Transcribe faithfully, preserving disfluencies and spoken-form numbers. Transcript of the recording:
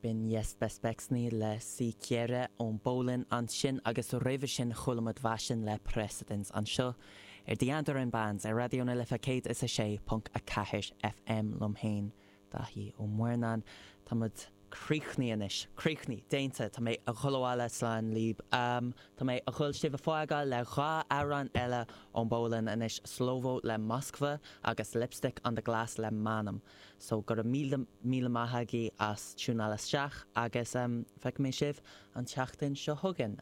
B'in Niebezpieczny le Siekiera ón bPólainn ansin agus roimhe sin chuala muid Vashin le Precedence anseo ar The Andaran Bands ar Raidió na Life céad is a sé ponc a ceathair FM liom féin Daithí Ó Muirneáin Tá muid críochnaithe anois, críochnaithe, déanta, tá mé a dhul abhaile slán libh. Um, tá mé a dhul sibh a fhágáil le dhá amhrán eile ón bPólainn anois Słowo le Moskwa agus Lipstick on the Glass le Manam. So go raibh míle míle maith agaibh as tiúnáil isteach agus um, feicfidh mé sibh an tseachtain seo chugainn.